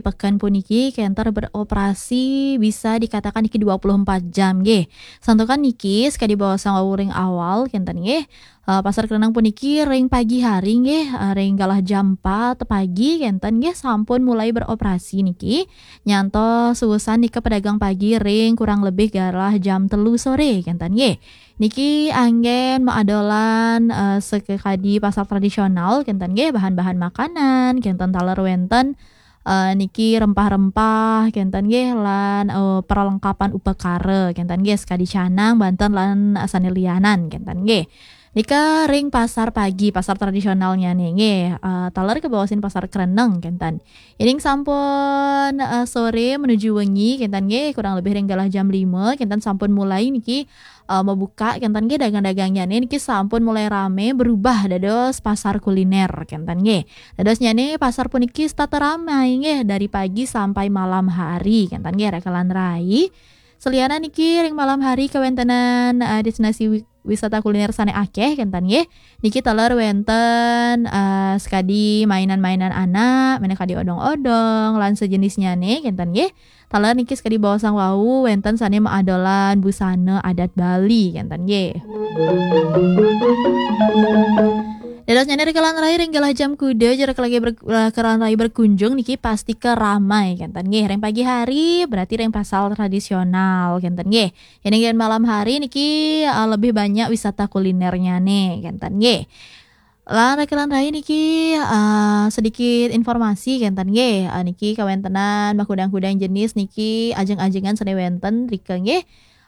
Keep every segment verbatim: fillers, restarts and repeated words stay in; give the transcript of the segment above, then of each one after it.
pekan puniki kenten beroperasi bisa dikatakan niki dua puluh empat jam nggih. Santukan niki sakadi baosang wau ring awal kenten nggih. Eh, Pasar Kreneng puniki ring pagi hari nggih, eh, ring galah jam empat pagi kenten nggih sampun mulai beroperasi niki. Nyantos suusan nika pedagang pagi ring kurang lebih galah jam telu sore kenten nggih. Niki anggen maadolan, eh, sakadi pasar tradisional kenten nggih, bahan-bahan makanan kenten taler wenten, eh, niki rempah-rempah kenten nggih, lan, eh, perlengkapan upakara kenten nggih, sakadi canang, banten lan sane lianan kenten nggih. Nika ring pasar pagi, pasar tradisionalnyane nggih, eh, taler kabaosin Pasar Kreneng kenten. Yening sampun, eh, sore menuju wengi kenten nggih, kurang lebih ring galah jam lima kenten sampun mulai niki, eh, mabuka kenten nggih, dagang-dagangnyane niki sampun mulai rame berubah dados pasar kuliner kenten nggih. Dadosnyane pasar puniki setata ramai nggih, dari pagi sampai malam hari kenten nggih, raka lan rai. Selianan niki ring malam hari kawentenan, eh, destinasi wi-, wisata kuliner sane akeh kenten nggih. Niki taler wenten, eh, sakadi mainan-mainan anak, minakadi odong-odong lan sejenisnyane kenten nggih. Taler niki sakadi baosang wau wenten sane maadolan busana adat Bali kenten nggih. Dadosnyane raka lan rai ring galah jam kuda, jero raka lan rai ber-, raka lan rai berkunjung niki pastika ramai kenten nggih. Ring pagi hari berarti ring pasar tradisional kenten nggih. Yening ring malam hari niki, eh, lebih banyak wisata kulinernyane kenten nggih. Lan raka lan rai niki, eh, sedikit informasi kenten nggih. Eh, niki kawentenan makudang-kudang jenis niki ajeng-ajengan sane wenten rika nggih.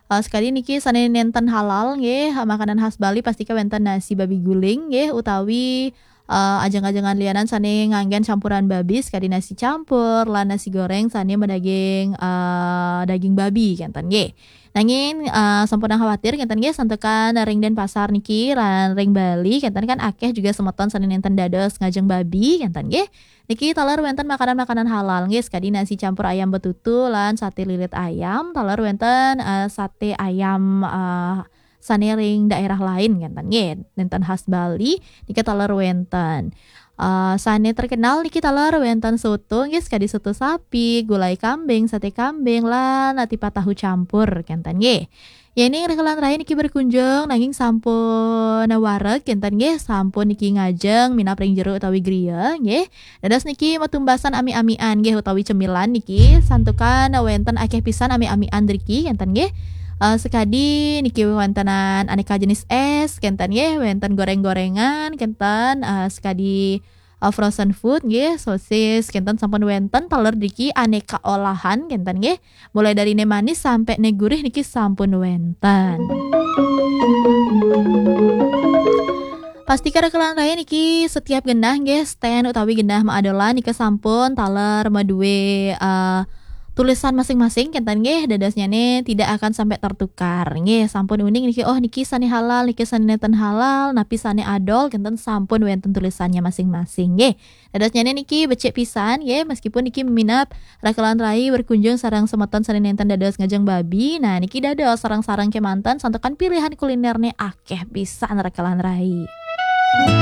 Eh, sakadi niki sane nenten halal nggih, makanan khas Bali pastika wenten nasi babi guling nggih, utawi, eh, ajeng-ajengan lianan sane nganggen campuran babi sakadi nasi campur lan nasi goreng sane madaging, eh, daging babi kenten nggih. Nanging, eh, sampunang khawatir kenten nggih, santukan ring Denpasar niki lan ring Bali kenten kan akeh juga semeton sane nenten dados ngajeng babi kenten nggih. Niki taler wenten makanan-makanan halal nggih, sakadi nasi campur ayam betutu lan sate lilit ayam, taler wenten, eh, sate ayam, eh, sane ring daerah lain kenten nggih, nenten khas Bali, nika taler wenten. Eh, sane terkenal niki taler wenten soto nggih, sakadi soto sapi, gulai kambing, sate kambing, lan tipat tahu campur kenten nggih. Yening raka lan rai niki berkunjung nanging sampun wareg kenten nggih, sampun niki ngajeng minab ring jero utawi griya nggih. Dados niki matumbasan amik-amikan nggih utawi cemilan niki, santukan wenten akeh pisan amik-amikan driki kenten nggih. Eh, sakadi niki wentenan aneka jenis es kenten nggih, wenten goreng-gorengan kenten, eh, sakadi, eh, frozen food nggih, sosis kenten sampun wenten taler driki aneka olahan kenten nggih. Mulai dari ne manis sampai ne gurih niki sampun wenten. Pastika raka lan rai niki setiap genah nggih, stand utawi genah maadolan nika sampun taler madue, eh, tulisan masing-masing kenten nggih, dadosnyane tidak akan sampai tertukar nggih. Sampun uning niki, oh niki sane halal, niki sane nenten halal, napi sane adol kenten sampun wenten tulisannya masing-masing nggih. Dadosnyane niki becik pisan nggih, meskipun niki minab raka lan rai berkunjung sareng semeton sane nenten dados ngajeng babi. Nah, niki dados sareng-sareng kemanten santukan pilihan kulinerne akeh pisan raka lan rai.